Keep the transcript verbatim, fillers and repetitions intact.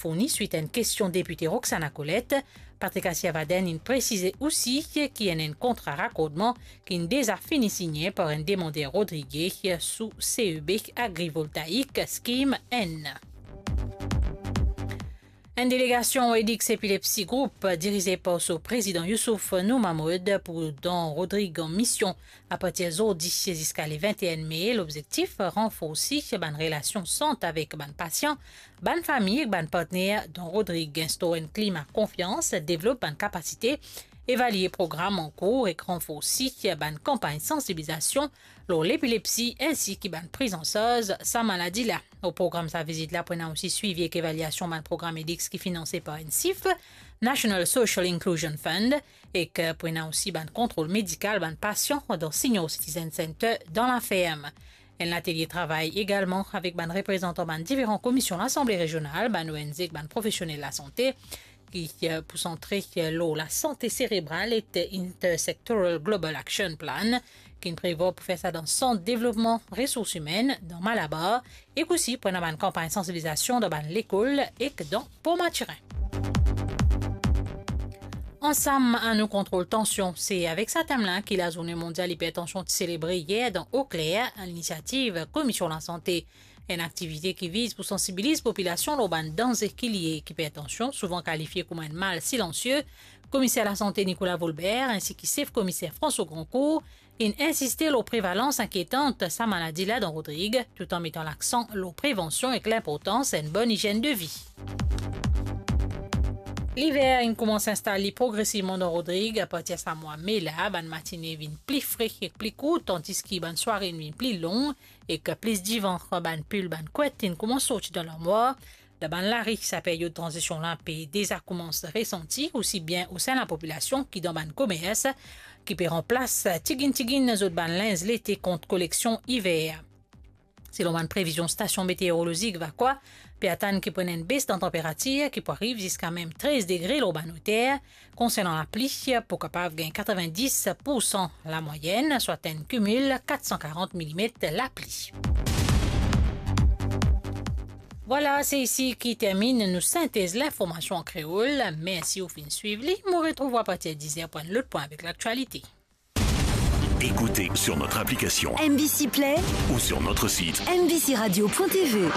fourni swit enn kestion depite Roxana Colette. Patrick Assiavaden inn presize osi ki enn, enn kontra rakordman ki'nn deza fini signe par enn demander Rodrigues sou C E B Agrivoltaïque Scheme enn. Enn delegasion Edix Epilepsy Group, dirize par so prezidan Youssouf Nour Mahmoud, pou dan Rodrig an mision apartir zordi ziska le vinteen me. Lobzektif, ranforsi bann relasion sant avek bann pasian, bann fami ek bann partner dan Rodrig, instor enn klima konfians, devlop bann kapasite, evalie program ankour ek ranforsi bann kanpagn sansibilizasion lor lepilepsi, ensi ki bann priz an sarz sa maladi la. Lor program sa vizit la, pou ena osi swivi ek evaliasion bann program Edix ki finanse par NSIF, National Social Inclusion Fund, ek, eh, pou ena osi bann kontrol medikal bann pasian dan Senior Citizen Center dan Laferm. Enn latelie travay egalman avek bann reprezantan bann diferan komisyon Lasanble Rezional, bann O N G ek bann profesionel lasante, ki, eh, pou santre, eh, lor lasante serebral ek Intersectoral Global Action Plan, ki'nn prevwar pou fer sa dan Sant Devlopman Resours Imenn dan Malabar, ek osi pou ena bann kanpagn sansibilizasion dan bann lekol ek dan Port Mathurin. Ansam, anou kontrol tansion, se avek sa tem la ki Lazourne Mondial Ipertansion ti selebre yer dan Eau Claire, a linisiativ Komisyon Lasante. Enn aktivite ki viz pou sansibiliz popilasion lor bann danze ki lie ek ipertansion, souvan kalifie kouma enn mal silansie. Komiser Lasante Nicolas Volbert, ensi ki sef komiser François Grandcourt, inn insiste lor prevalans inkietan sa maladi la dan Rodrig, toutan metan laksan lor prevansion ek linportans enn bonn izienn de vi. Liver inn koumans instal li progresivman dan Rodrig. Apartir sa mwa me la, bann matine vinn pli fre ek pli kourt, tandiski bann sware inn vinn pli long, ek plis divan. Bann pil, bann kwet inn koumans sorti dan larmwar. Dan bann lari, sa peryod tranzision la pe deza koumans resanti, osi bien osin lapopilasion ki dan bann komers, ki pe ranplas tiginn tiginn zot bann linz lete kont koleksion iver. Selon bann previzion stasion meteorolozik Vakoa, pe atann ki pou ena enn bes dan tanperatir ki pou ariv ziska mem trez degre lor bann oter. Konsernan lapli, pou kapav gagn katrevin-dis pou san lamwayenn, swa enn kimil kat san karant milimet lapli. Vwala, se isi ki terminn nou sintez linformasion an kreol. Mersi ou finn swiv li. Mo retrouv ou apartir diz er pou enn lot pwin avek laktialite. Écoutez sur notre application M B C Play ou sur notre site M B C radio point T V.